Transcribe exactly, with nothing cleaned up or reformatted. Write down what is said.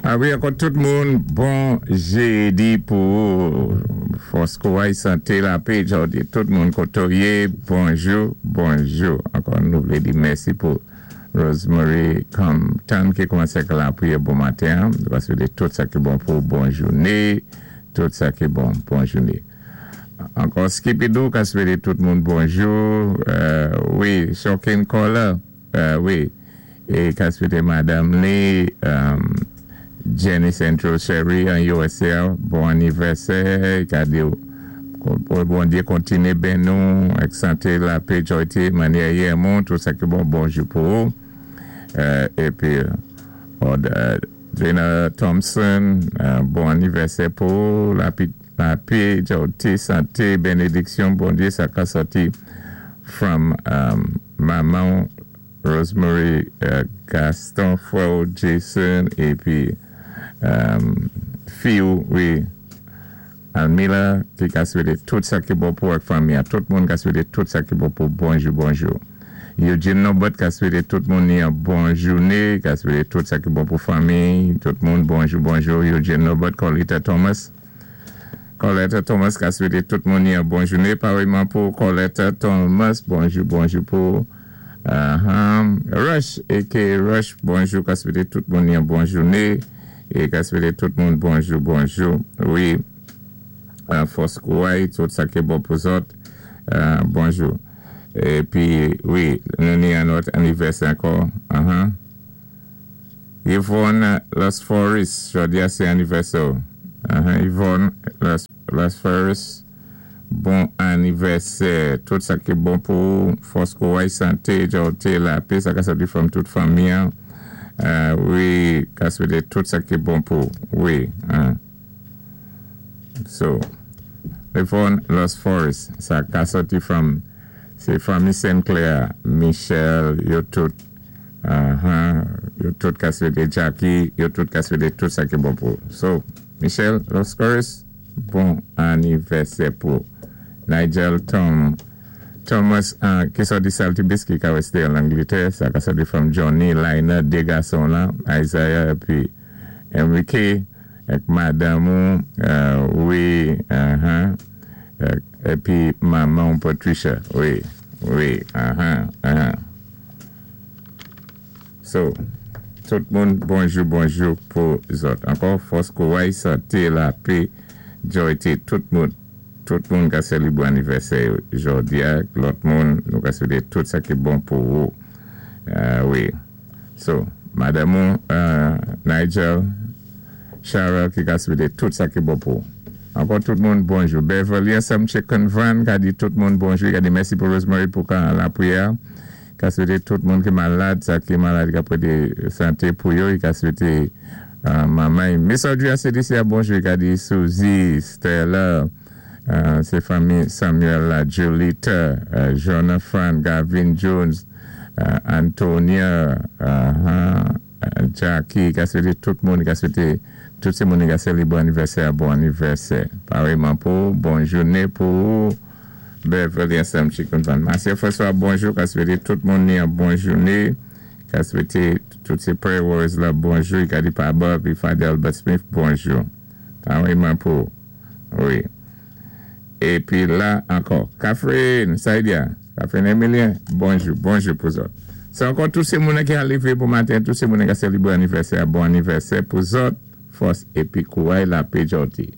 Ah wi, ankò tout moun, bon jédi pou fòs, kouray, santé, lapé, jòdi. Tout moun koté ou yé, bonjou, bonjou. Ankò nou vlé di mèsi pou Rosemary Compton ki koumansé lapriyè bon maten. Nou swété tout sa ki bon pou bon jouné, tout sa ki bon, bon jouné. Ankò Skipidou ka swété tout moun bonjou. Euh, wi, Shocking Caller, euh, wi. É ka swété Madam Lee, euh, Jenny Central Sherry an U S A, bon anivèsè, ka di pou Bondyé kontiné béni nou, ak santé, lapé, jòyté, mannyè yè moun, tout sa ki bon, bonjou pou ou. Euh, épi, euh, Dana Thompson, euh, bon anivèsè pou ou, lapé, lapé, jòyté, santé, bénédiksyon, Bondyé, sa ka sòti from um, manman Rosemary euh, Gaston, frè Jason, épi um, fi, wi, Almila, ki ka swété tout sa ki bon pou ak fanmi, a tout moun ka swété tout sa ki bon pou bonjou, bonjou. Eugene Nobot ka swété tout moun ni yon bon jouné, ka swété tout sa ki bon pou fanmi, tout moun bonjou, bonjou. Eugene Nobot, Colita Thomas. Coletta Thomas ka swété tout moun ni yon bon jouné, parèyman pou Coletta Thomas, bonjou, bonjou pou uh-huh. Rush, A K A Rush, bonjou, ka swété tout moun ni yon bon jouné, é ka swété tout moun bonjou, bonjou. Wi, uh, fòs kouray, tout sa ki bon pou zòt, uh, bonjou. Épi, wi, nou ni yon lòt anivèsè ankò. Uh-huh. Yvonne Los Foris, jòdi a sé anivèsè. Uh-huh. Yvonne Los, Los Foris, bon anivèsè. Tout sa ki bon pou fòs, kouray, santé, jòyté, lapé, sa ka sòti from tout fanmi. Uh, wi, ka swété tout sa ki bon pou. Wi. Uh. So, Yvonne Los Foris, sa ka sòti from sé fanmi Sinclair, Michel, yo tout, uh-huh, yo tout ka swété Jackie, yo tout ka swété tout sa ki bon pou. So, Michel Los Foris, bon anivèsè pou Nigel Tom Thomas, uh, ki sòti Salty Biscuit, ka wésté an Anglétè, sa ka sòti from Johnny, Lina, dé gason la, Isaiah, épi Enrique, ak madanm ou, uh, wi, uh-huh, uh, épi manman Patricia, wi, wi, uh-huh, uh-huh. So, tout moun, bonjou, bonjou pou zòt. Ankò, fòs, kouray, santé, lapé, jòyté, tout moun, tout moun ka sélébwé anivèsè jòdi a, lòt moun, nou ka swété tout sa ki bon pou ou. Uh, wi. So, madanm uh, Nigel, Cheryl ki ka swété tout sa ki bon pou ou. Ankò tout moun bonjou. Beverly Sam Chicken Van ka di tout moun bonjou, ka di mèsi pou Rosemary pou kan lapriyè. Ka swété tout moun ki malad, sa ki malad ka pwété santé pou yo, ka swété uh, manman. Miss Audrey C D C a bonjou, ka di Suzy, Stella, uh, sé fanmi Samuel, la, Julita, uh, Jonathan, Gavin Jones, uh, Antonia, uh, uh, Jackie, ka swété tout moun, ka swété tout sé moun ka sélébwé anivèsè, bon anivèsè. Parèyman pou, bon jouné pou Beverly Sam Chicken Van. Marcia François, bonjou, ka swété tout moun ni yon bon jouné, ka swété tout sé prayer warriors la bonjou, ka di pa Bob, pi Father Albert Smith, bonjou. Parèyman pou, wi. Épi la ankò, Catherine, Saïdia, Catherine Emilien, bonjou, bonjou pou zòt. Sé ankò tout sé moun ki arivé pou maten, tout sé moun ki sélébwé anivèsè, bon anivèsè pou zòt, fòs épi kouray, lapé, jòyté.